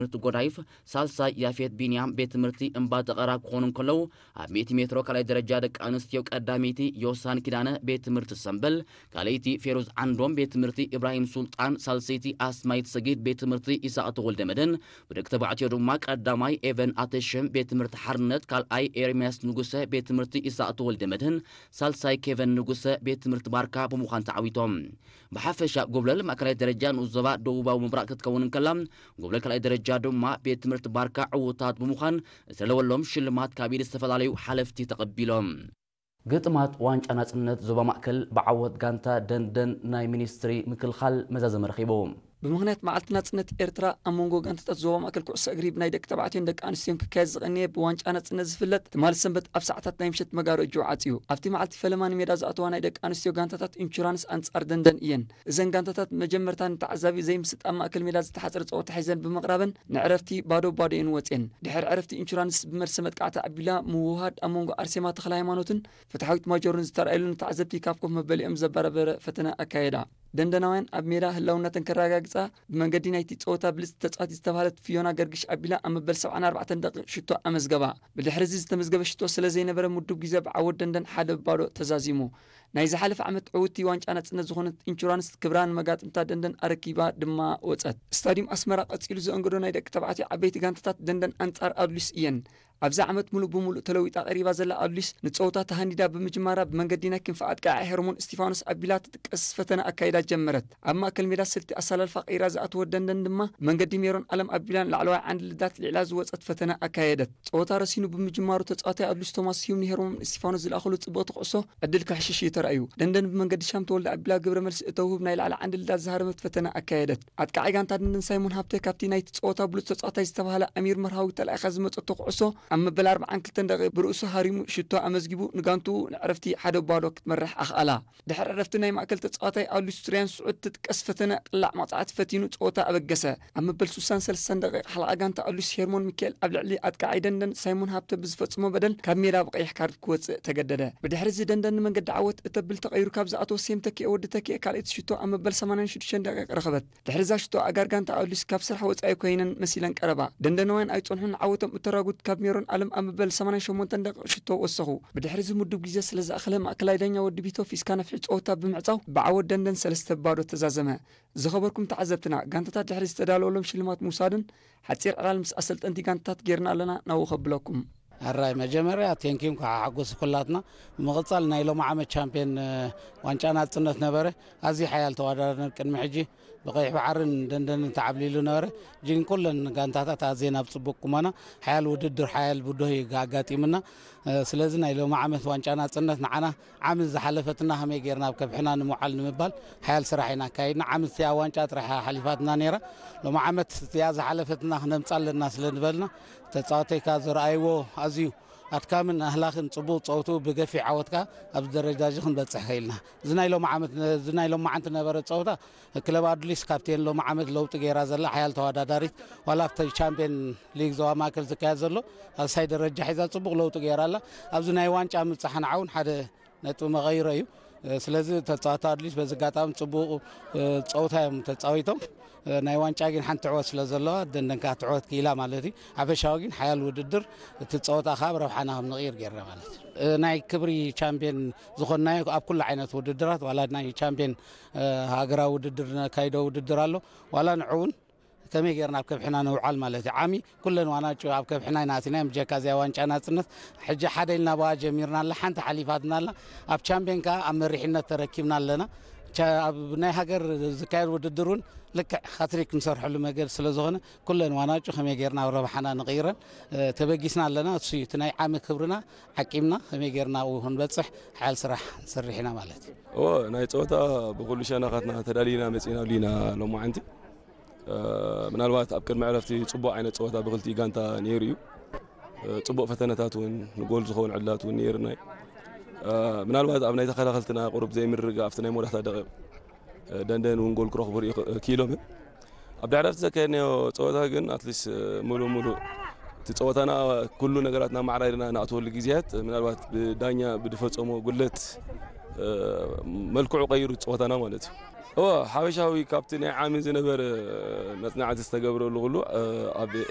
ትምህርቲ ጎዳይፍ፣ ሳልሳይ ያፌት ቢንያም ቤት ትምህርቲ እምባ ጠቐራ ክኾኑ እንከለዉ፣ ኣብ ሚእቲ ሜትሮ ካልኣይ ደረጃ ደቂ ኣንስትዮ ቀዳመይቲ ዮሳን ኪዳነ ቤት ትምህርቲ ሰምበል፣ ካልኣይቲ ፌሩዝ ዓንዶም ቤት ትምህርቲ ኢብራሂም ሱልጣን፣ ሳልሰይቲ ኣስማይት ሰጊድ ቤት ትምህርቲ ኢሳቅ ተወልደ መድህን፣ ብደቂ ተባዕትዮ ድማ ቀዳማይ ኤቨን ኣተሸም ቤት ትምህርቲ ሓርነት፣ ካልኣይ ኤርምያስ ንጉሰ ቤት ትምህርቲ ኢሳቅ ተወልደ መድህን፣ ሳልሳይ ኬቨን ንጉሰ ቤት ትምህርቲ ባርካ ብምዃን ተዓዊቶም። ብሓፈሻ ጎብለል ማእከላይ ደረጃ ንኡስ ዞባ ደቡባዊ ምብራቕ ክትከውን እንከላ፣ ጎብለል ካልኣይ ደረጃ ድማ ቤት ትምህርቲ ባርካ ዕዉታት ብምዃን ዝተለወሎም ሽልማት ካብ ኢድ ዝተፈላለዩ ሓለፍቲ ተቐቢሎም። ግጥማት ዋንጫ ናጽነት ዞባ ማእከል ብዓወት ጋንታ ደንደን ናይ ሚኒስትሪ ምክልኻል መዛዘሚ ረኺቡ። ብምኽንያት መዓልቲ ናጽነት ኤርትራ ኣብ መንጎ ጋንታታት ዞባ ማእከል ኩዕሶ እግሪ ብናይ ደቂ ተባዕትዮን ደቂ ኣንስትዮን ክካየድ ዝቐነየ ብዋንጫ ናጽነት ዝፍለጥ ትማሊ ሰንበት ኣብ ሰዓታት ናይ ምሸት መጋረጅኡ ዓጽዩ። ኣብቲ መዓልቲ ፈለማ ንሜዳ ዝኣተዋ ናይ ደቂ ኣንስትዮ ጋንታታት ኢንሹራንስ ኣንጻር ደንደን እየን። እዘን ጋንታታት መጀመርታ ንተዓዛቢ ዘይምስጥ ኣብ ማእከል ሜዳ ዝተሓጽረ ጸወታ ሒዘን ብምቕራበን ንዕረፍቲ ባዶ ባዶ እየን ወጽየን። ድሕሪ ዕረፍቲ ኢንሹራንስ ብመልሰ መጥቃዕቲ ኣቢላ ምውህሃድ ኣብ መንጎ ኣርሴማ ተኽለ ሃይማኖትን ፍትሓዊት ማጆርን ዝተራእየሉ ንተዓዘብቲ ካብ ኮፍ መበሊኦም ዘበራበረ ፈተነ ኣካየዳ። ደንደናውያን ኣብ ሜዳ ህላውነተን ከረጋግጻ ብመንገዲ ናይቲ ጸወታ ብልጽቲ ተጻዋቲት ዝተባህለት ፊዮና ገርግሽ ኣቢላ ኣብ መበል ሰብዓን ኣርባዕተን ደቂቕ ሽቶ ኣመዝገባ። ብድሕሪ እዚ ዝተመዝገበ ሽቶ ስለ ዘይነበረ ምዱብ ግዜ ብዓወት ደንደን ሓደ ባዶ ተዛዚሙ። ናይ ዝሓለፈ ዓመት ዕውቲ ዋንጫ ናጽነት ዝኾነት ኢንሹራንስ ክብራ ንመጋጥምታ ደንደን ኣረኪባ ድማ ወጸት። ስታዲየም ኣስመራ ቀጺሉ ዘእንግዶ ናይ ደቂ ተባዕትዮ ዓበይቲ ጋንታታት ደንደን ኣንጻር ኣዱሊስ እየን። ኣብዚ ዓመት ሙሉእ ብሙሉእ ተለዊጣ ቀሪባ ዘላ ኣዱሊስ ንጸወታ ተሃንዲዳ ብምጅማራ ብመንገዲ ናይ ክንፊ ኣጥቃዒ ሄርሞን እስቲፋኖስ ኣቢላ ትጥቀስ ፈተነ ኣካይዳ ጀመረት። ኣብ ማእከል ሜዳ ስልቲ ኣሰላልፋ ቀይራ ዝኣተወት ደንደን ድማ ብመንገዲ ሜሮን ኣለም ኣቢላ ንላዕለዋይ ዓንዲ ልዳት ልዒላ ዝወጸት ፈተነ ኣካየደት። ጸወታ ረሲኑ ብምጅማሩ ተጻዋታይ ኣዱሊስ ቶማስ ስዩም ንሄርሞን እስቲፋኖስ ዝለኣኸሉ ጽብቕቲ ኩዕሶ ዕድል ከሕሽሽ እዩ ተራእዩ። ደንደን ብመንገዲ ሻም ተወልደ ኣቢላ ግብረ መልሲ እተውህብ ናይ ላዕሊ ዓንዲ ልዳት ዝሃረመት ፈተነ ኣካየደት። ኣጥቃዒ ጋንታ ደንደን ሳይሞን ሃብተ ካብቲ ናይቲ ጸወታ ብሉጽ ተጻዋታይ ዝተባህለ ኣሚር መርሃዊ ተላኢኻ ዝመጸቶ ኩዕሶ ኣብ መበል ኣርብዓን ክልተን ደቂቕ ብርእሱ ሃሪሙ ሽቶ ኣመዝጊቡ ንጋንትኡ ንዕረፍቲ ሓደ ባዶ ክትመርሕ ኣኽኣላ። ድሕሪ ዕረፍቲ ናይ ማእከል ተጻዋታይ ኣሉስ ሱርያን ስዑድ ትጥቀስ ፈተነ ቅላዕ መቕጻዕቲ ፈቲኑ ጸወታ ኣበገሰ። ኣብ መበል ሱሳን ሰለስተን ደቂቕ ሓለቓ ጋንታ ኣሉስ ሄርሞን ሚካኤል ኣብ ልዕሊ ኣጥቃዓይ ደንደን ሳይሞን ሃብተ ብዝፈጽሞ በደል ካብ ሜዳ ብቐይሕ ካርድ ክወጽእ ተገደደ። ብድሕሪ እዚ ደንደን ንመንገዲ ዓወት እተብል ተቐይሩ ካብ ዝኣተወ ሴም ተኪኤ ወዲ ተኪኤ ካልኣይቲ ሽቶ ኣብ መበል ሰማንያን ሽዱሽተን ደቂቕ ረኸበት። ድሕሪ እዛ ሽቶ ኣጋር ጋንታ ኣሉስ ካብ ስራሕ ወጻኢ ኮይነን መሲለን ቀረባ። ደንደናውያን ኣይጸንሑን ንዓወቶም እተራጉት ካብ ሜሮን ኣለም ኣብ መበል ሰማንያን ሸሞንተን ደቂቕ ሽቶ ወሰኹ። ብድሕሪ እዚ ምዱብ ግዜ ስለ ዝኣኸለ ማእከላይ ዳኛ ወዲ ቢቶ ፊስካ ነፍሒ ጸወታ ብምዕጻው ብዓወት ደንደን ሰለስተ ባዶ ተዛዘመ። ዝኸበርኩም ተዓዘብትና፣ ጋንታታት ድሕሪ ዝተዳለወሎም ሽልማት ምውሳድን ሓጺር ዕላል ምስ ኣሰልጠንቲ ጋንታታት ጌርና ኣለና ናብኡ ከብለኩም። ኣራይ መጀመርያ ቴንኪም ከዓ ሓጎስ ኩላትና። ብምቕጻል ናይ ሎሚ ዓመት ቻምፒየን ዋንጫ ናጽነት ነበረ። ኣዝዩ ሓያል ተወዳዳሪ ቅድሚ ሕጂ ብቐይሕ ባሕርን ደንደንን ተዓብሊሉ ነበረ። ግን ኩለን ጋንታታት ኣዝየን ኣብ ጽቡቕ ቁመና ሓያል ውድድር ሓያል ብድሆ እዩ ኣጋጢምና። ስለዚ ናይ ሎሚ ዓመት ዋንጫ ናጽነት ንዓና ዓመት ዝሓለፈትና ከመይ ጌርና ኣብ ከብሕና ንምውዓል ንምባል ሓያል ስራሕ ኢና ኣካይድና። ዓመት እቲኣ ዋንጫ ጥራሕ ሓሊፋትና ነይራ። ሎሚ ዓመት እቲኣ ዝሓለፈትና ክነምጻ ኣለና ስለ ዝበልና ተጻዋተይካ ዘርኣይዎ ኣዝዩ ኣድካምን ኣህላኽን ጽቡቕ ጸውትኡ ብገፊሕ ዓወትካ ኣብዚ ደረጃ እዚ ክንበጽሕ ከኢልና። እዚ ናይ ሎሚ ዓመት እዚ ናይ ሎማዓንቲ ነበረ ጸወታ ክለብ ኣዱሊስ ካብቴን ሎሚ ዓመት ለውጢ ገይራ ዘላ ሓያል ተወዳዳሪት ዋላ ኣብቲ ቻምፒየን ሊግ ዞባ ማእከል ዝካየድ ዘሎ ኣሳይ ደረጃ ሒዛ ጽቡቕ ለውጢ ገይራ ኣላ። ኣብዚ ናይ ዋንጫ ምብጻሕ ንዓውን ሓደ ነጥቢ መቐይሮ እዩ። ስለዚ ተጻዋታ ኣድሊስ በዚ ኣጋጣሚ ጽቡቕ ጸወታ እዮም ተጻዊቶም። ናይ ዋንጫ ግን ሓንቲ ዕወት ስለ ዘለዋ ደንደን ከዓ ትዕወት ክኢላ ማለት እዩ። ሓፈሻዊ ግን ሓያል ውድድር እቲ ጸወታ ከዓ ብረብሓና ከም ንቕይር ጌርና ማለት እዩ። ናይ ክብሪ ቻምፒየን ዝኾንናዮ ኣብ ኩሉ ዓይነት ውድድራት ዋላ ናይ ቻምፒየን ሃገራዊ ውድድር ነካይዶ ውድድር ኣሎ ዋላ ንዕውን ከመይ ጌርና ኣብ ከብሕና ንውዓል ማለት እዩ። ዓሚ ኩለን ዋናጩ ኣብ ከብሕና ኢና ኣቲና እዮም ጀካ እዚኣ ዋንጫ ናጽነት ሕጂ ሓደ ኢልና ብኣ ጀሚርና ኣላ ሓንቲ ሓሊፋትና ኣላ ኣብ ቻምፒየን ከዓ ኣብ መሪሕነት ተረኪብና ኣለና። ኣብ ናይ ሃገር ዝካየድ ውድድር እውን ልክዕ ሃትሪክ ንሰርሐሉ መገድ ስለ ዝኾነ ኩለን ዋናጩ ከመይ ጌርና ኣብ ረብሓና ንቕይረን ተበጊስና ኣለና። እሱ እዩ እቲ ናይ ዓሚ ክብርና ዓቂምና ከመይ ጌርና ኣብኡ ክንበፅሕ ሓያል ስራሕ ንሰርሕ ኢና ማለት እዩ። እዎ ናይ ፀወታ ብኩሉ ሸነኻትና ተዳሊና መፂና ኣሉ ኢና ሎማዓንቲ። ምናልባት ኣብ ቅድሚ ዕረፍቲ ፅቡቕ ዓይነት ፀወታ ብክልቲኡ ጋንታ ነይሩ እዩ። ፅቡቕ ፈተነታት እውን ንጎል ዝኸውን ዕድላት እውን ነይርና እዩ። ምናልባት ኣብ ናይ ተኸላኸልትና ቁሩብ ዘይምርግጋእ ኣብቲ ናይ መወዳእታ ደቂቕ ደንደን እውን ጎል ክረኽቡ ርኢ ክኢሎም እዮም። ኣብ ድሕሪ ዕረፍቲ ዘካየድናዮ ፀወታ ግን ኣትሊስት ሙሉእ ሙሉእ እቲ ፀወታና ኩሉ ነገራትና ማዕራርና ንኣትወሉ ግዜያት ምናልባት ብዳኛ ብዝፈፀሞ ጉድለት መልክዑ ቀይሩ ጸወታና ማለት እዩ። እወ፣ ሓበሻዊ ካብቲ ናይ ዓሚ ዝነበረ መጽናዕቲ ዝተገብረሉ ኩሉ፣ ኣብ